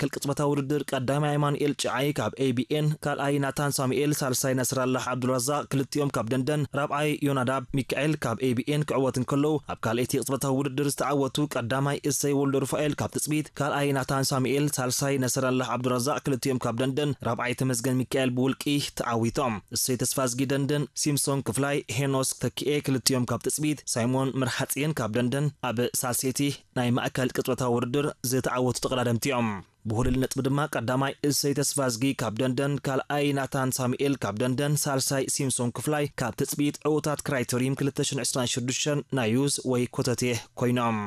ማእከል ቅጽበታዊ ውድድር ቀዳማይ ኣማኑኤል ጭዓይ ካብ ኤ ቢ ኤን፣ ካልኣይ ናታን ሳሙኤል፣ ሳልሳይ ነስራላህ ዓብዱራዛቕ ክልቲኦም ካብ ደንደን፣ ራብዓይ ዮናዳብ ሚካኤል ካብ ኤ ቢ ኤን ክዕወት እንከለዉ፣ ኣብ ካልኣይቲ ቅጽበታዊ ውድድር ዝተዓወቱ ቀዳማይ እሰይ ወልደሩፋኤል ካብ ትጽቢት፣ ካልኣይ ናታን ሳሙኤል፣ ሳልሳይ ነስራላህ ዓብዱራዛቕ ክልቲኦም ካብ ደንደን፣ ራብዓይ ተመስገን ሚካኤል ብውልቂ ተዓዊቶም። እሰይ ተስፋዝጊ ደንደን፣ ሲምሶን ክፍላይ፣ ሄኖስ ተኪኤ ክልቲኦም ካብ ትጽቢት፣ ሳይሞን መርሓጽየን ካብ ደንደን ኣብ ሳልሰይቲ ናይ ማእከል ቅጽበታዊ ውድድር ዝተዓወቱ ተቐዳደምቲ እዮም። ብሁልል ነጥቢ ድማ ቀዳማይ እሰይ ተስፋዝጊ ካብ ደንደን፣ ካልኣይ ናታን ሳሙኤል ካብ ደንደን፣ ሳልሳይ ሲምሶን ክፍላይ ካብ ትጽቢት ዕዉታት ክራይተሪም ክልተ ሽሕን ዕስራን ሽዱሽተን ናይ ዩዝ ወይ ኮተቴ ኮይኖም።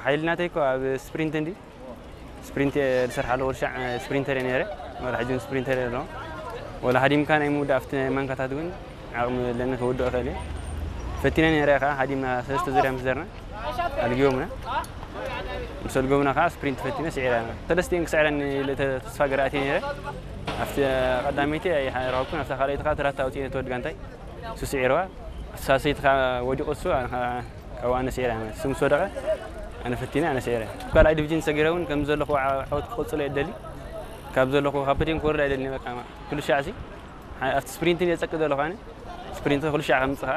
ሓይሊ ናተይ እኮ ኣብ ስፕሪንት እንዲ ስፕሪንት ዝሰርሓሉ ወርሻዕ ስፕሪንተር እየ ነይረ። ወላ ሕጂ እውን ስፕሪንተር እየ ኣለኹ። ወላ ሃዲምካ ናይ ምውዳእ ኣብቲ ናይ ማንካታት እውን ዓቕሚ ኣለኒ ክውድኦ እኽእል እየ። ፈቲነ ነይረ ከዓ ሃዲምና ሰለስተ ዙርያ ምስ ዘርና ኣልጊቦምና። ምስ ኣልጎምና ከዓ ስፕሪንት ፈቲነ ስዒረ። ሰለስቲኤን ክስዕረኒ ኢለ ተ-፣ ተስፋ ገራእቲ ነይረ። ኣብቲ ቀዳመይቲ ኣይረኸብኩን፣ ኣብታ ካልኣይቲ ከዓ ተራታ ኣውፂኤ ነቲ ወዲ ጋንታይ። እሱ ስዒርዋ። ኣብቲ ሳልሰይቲ ከዓ ወዲቑ እሱ፣ ኣነ ከዓ ካብኡ ኣነ ስዒረ። እሱ ምስ ወደቐ ኣነ ፈቲነ፣ ኣነ ስዒረ። ካልኣይ ዲቪዥን ሰጊረ እውን ከም ዘለኹ ዓ-፣ ዓወት ክቕፅሎ እየ ደሊ። ካብ ዘለኹ ካብ ፖድየም ክወርድ ኣይደልን እየ። በቃ ኩሉ ሻዕ ሲ፣ ኣብቲ ስፕሪንት እየ ጸቂ ዘለኹ ኣነ። ስፕሪንት ኩሉ ሻዕ ከምፅእ ከዓ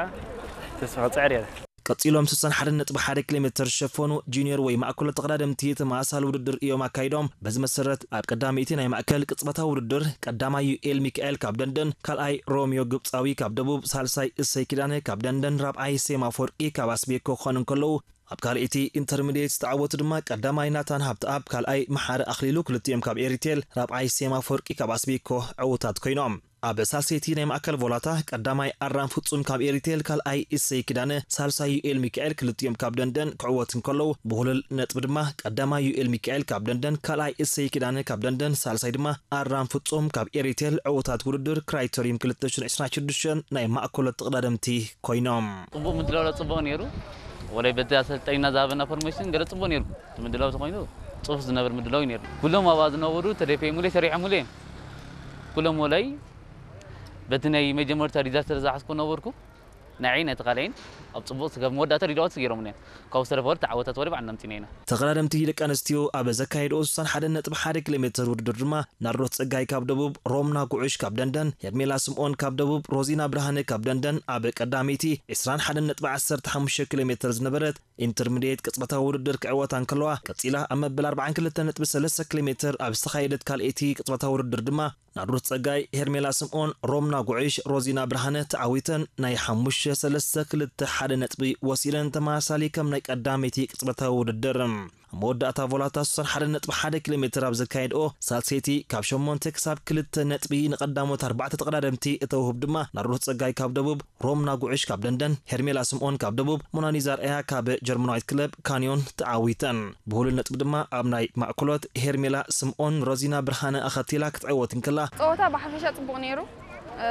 ተስፋ ክፅዕር እየ። ቀጺሎም ስሳን ሓደን ነጥቢ ሓደ ኪሎ ሜተር ዝሸፈኑ ጁኒየር ወይ ማእከሎ ተቐዳደምቲ ተመሳሳሊ ውድድር እዮም ኣካይዶም። በዚ መሰረት ኣብ ቀዳመይቲ ናይ ማእከል ቅጽበታዊ ውድድር ቀዳማይ ዩኤል ሚካኤል ካብ ደንደን፣ ካልኣይ ሮሚዮ ግብጻዊ ካብ ደቡብ፣ ሳልሳይ እሰይ ኪዳነ ካብ ደንደን፣ ራብዓይ ሴማ ኣፈወርቂ ካብ ኣስቤኮ ክኾኑ እንከለዉ፣ ኣብ ካልኣይቲ ኢንተርሚድየት ዝተዓወቱ ድማ ቀዳማይ ናታን ሃብተኣብ፣ ካልኣይ መሓሪ ኣኽሊሉ ክልቲኦም ካብ ኤሪቴል፣ ራብዓይ ሴማ ኣፈወርቂ ካብ ኣስቤኮ ዕዉታት ኮይኖም። ኣብ ሳልሰይቲ ናይ ማእከል ቮላታ ቀዳማይ ኣራም ፍጹም ካብ ኤሪቴል፣ ካልኣይ እሰይ ኪዳነ፣ ሳልሳይ ዩኤል ሚካኤል ክልቲኦም ካብ ደንደን ክዕወት እንከለዉ፣ ብሁልል ነጥቢ ድማ ቀዳማይ ዩኤል ሚካኤል ካብ ደንደን፣ ካልኣይ እሰይ ኪዳነ ካብ ደንደን፣ ሳልሳይ ድማ ኣራም ፍጹም ካብ ኤሪቴል ዕዉታት ውድድር ክራይተሪም ክልተ ሽሕን ዕስራን ሽዱሽተን ናይ ማእከሎት ተቐዳደምቲ ኮይኖም። ጽቡቕ ምድላው ጽቡቕ ነይሩ። ወላይ በቲ ኣሰልጣኝና ዝሃበና ፎርሜሽን ገለ ጽቡቕ ነይሩ። እቲ ምድላው ተኾይኑ ጽፉፍ ዝነብር ምድላው እዩ ነይሩ። ኩሎም ኣብኣ ዝነበሩ ተደፊኦምለይ፣ ሰሪሖምለይ እዮም። ኩሎም ወላይ በቲ ናይ መጀመርታ ዲዛስተር ዝሓዝኩ ነበርኩ። ንዓይ ነቲ ካልኣይን ኣብ ጽቡቕ ስጋብ መወዳእታ ሪዳኦት ገይሮምለይ እዮም። ካብኡ ዝተረፈ ወላ ተዓወታት ወላ ባዕልና ኣምጺእና ኢና። ተቐዳደምቲ ደቂ ኣንስትዮ ኣብ ዘካየድኦ ስሳን ሓደን ነጥቢ ሓደ ኪሎ ሜተር ውድድር ድማ ናርዶት ጸጋይ ካብ ደቡብ፣ ሮምና ጉዕሽ ካብ ደንደን፣ ሄርሜላ ስምኦን ካብ ደቡብ፣ ሮዚና ብርሃነ ካብ ደንደን ኣብ ቀዳመይቲ ዕስራን ሓደን ነጥቢ ዓሰርተ ሓሙሽተ ኪሎ ሜተር ዝነበረት ኢንተርሚድየት ቅጽበታዊ ውድድር ክዕወታ እንከለዋ፣ ቀጺላ ኣብ መበል ኣርባዓን ክልተን ነጥቢ ሰለስተ ኪሎ ሜተር ኣብ ዝተኻየደት ካልኣይቲ ቅጽበታዊ ውድድር ድማ ናርዶት ጸጋይ፣ ሄርሜላ ስምኦን፣ ሮምና ጉዕሽ፣ ሮዚና ብርሃነ ተዓዊተን ናይ ሓሙሽተ ሰለስተ ክልተ ሓደ ነጥቢ ወሲደን ተመሳሳሊ ከም ናይ ቀዳመይቲ ቅጽበታዊ ውድድር። ኣብ መወዳእታ ቮላታ ስሳን ሓደን ነጥቢ ሓደ ኪሎ ሜተር ኣብ ዘካየድኦ ሳልሰይቲ ካብ ሸሞንተ ክሳብ ክልተ ነጥቢ ንቐዳሞት ኣርባዕተ ተቐዳደምቲ እተውህብ ድማ ናርዶት ጸጋይ ካብ ደቡብ፣ ሮምና ጉዕሽ ካብ ደንደን፣ ሄርሜላ ስምኦን ካብ ደቡብ፣ ሞናሊዛ ኣርኣያ ካብ ጀርመናዊት ክለብ ካንዮን ተዓዊተን። ብሁሉል ነጥቢ ድማ ኣብ ናይ ማእከሎት ሄርሜላ ስምኦን ሮዚና ብርሃነ ኣኸቲላ ክትዕወት እንከላ፣ ጸወታ ብሓፈሻ ጽቡቕ ነይሩ። እ፣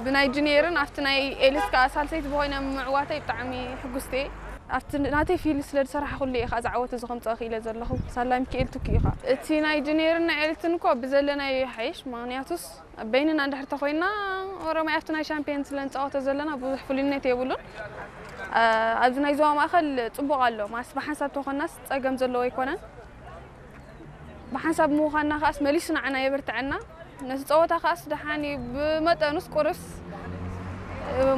ብናይ ጁኒየርን ኣብቲ ናይ ኤሊት ከኣ ሳልሰይቲ ብኾይነ ምዕዋተይ ብጣዕሚ ሕጉስቲ እየ። ኣብቲ ናተይ ፊልድ ስለ ዝሰራሕኩሉ እየ ከኣ ዝዓወት እዚ ከምጽኦ ክኢለ ዘለኹ። ሳላ ሚካኤል ትኩ እዩ ከኣ። እቲ ናይ ጁኒየርን ናይ ኤሊትን እኮ ብዘለናዮ ይሓይሽ፣ ምኽንያቱስ በይንና እንድሕር ተኾይንና ኦሮማይ ኣብቲ ናይ ሻምፒየን ስለ ንጻወቶ ዘለና ብዙሕ ፍሉይነት የብሉን። እ፣ ኣብዚ ናይ ዞባ ማእከል ጽቡቕ ኣሎ፣ ማስ ብሓንሳብ ተኾናስ ጸገም ዘለዎ ኣይኮነን። ብሓንሳብ ምዃንና ከኣስ መሊሱ ንዓና የበርትዐና። ነቲ ጸወታ ከኣስ ደሓን እዩ፣ ብመጠኑስ ቁርስ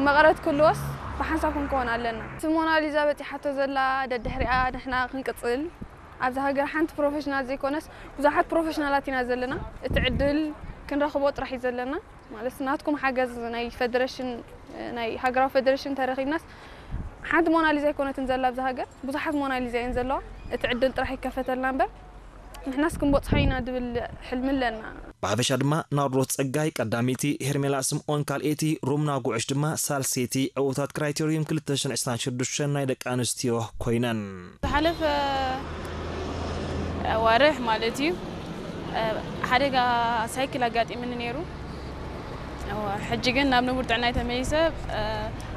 መቐረት ክህልዎስ ብሓንሳብ ክንከውን ኣለና። እቲ ሞናሊዛ በጺሓቶ ዘላ ደድሕሪኣ ንሕና ክንቅጽል፣ ኣብዛ ሃገር ሓንቲ ፕሮፌሽናል ዘይኮነስ ብዙሓት ፕሮፌሽናላት ኢና ዘለና። እቲ ዕድል ክንረኽቦ ጥራሕ እዩ ዘለና። ማለት ናትኩም ሓገዝ ናይ ፌደሬሽን፣ ናይ ሃገራዊ ፌደሬሽን ተረኺብናስ ሓንቲ ሞናሊዛ ኣይኮነትን ዘላ ኣብዛ ሃገር፣ ብዙሓት ሞናሊዛ እየን ዘለዋ። እቲ ዕድል ጥራሕ ይከፈተልና እምበር ንሕናስ ክንበጽሖ ኢና ዝብል ሕልሚ ኣለና። ብሓፈሻ ድማ ናርዶት ጸጋይ ቀዳመይቲ፣ ሄርሜላ ስምኦን ካልኣይቲ፣ ሮምና ጉዕሽ ድማ ሳልሰይቲ ዕዉታት ክራይቴርዩም ክልተ ሽሕን ዕስራን ሽዱሽተን ናይ ደቂ ኣንስትዮ ኮይነን። ዝሓለፈ ዋርሕ ማለት እዩ፣ ሓደጋ ሳይክል ኣጋጢምኒ ነይሩ። ሕጂ ግን ናብ ንቡር ጥዕናይ ተመሊሰ፣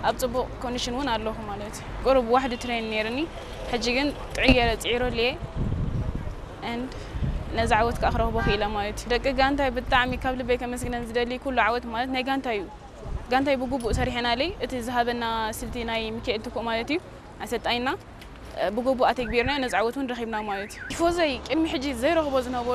ኣብ ጽቡቕ ኮንዲሽን እውን ኣለኹ ማለት እዩ። ቁሩብ ዋሕዲ ትሬን ነይርኒ፣ ሕጂ ግን ጥዕየ ጽዒረሉ እየ። And ነዚ ዓወት ከኣ ክረኽቦ ክኢለ ማለት እዩ። ደቂ ጋንታይ ብጣዕሚ ካብ ልበይ ከመስግነን ዝደሊ ኩሉ ዓወት ማለት ናይ ጋንታይ እዩ። ጋንታይ ብግቡእ ሰሪሐናለይ። እቲ ዝሃበና ስልቲ ናይ ሚካኤል ትኩእ ማለት እዩ ኣሰልጣኝና፣ ብግቡእ ኣተግቢርና ነዚ ዓወት እውን ረኺብና ማለት እዩ። ቲፎዘይ ቅድሚ ሕጂ ዘይረኽቦ ዝነበሩ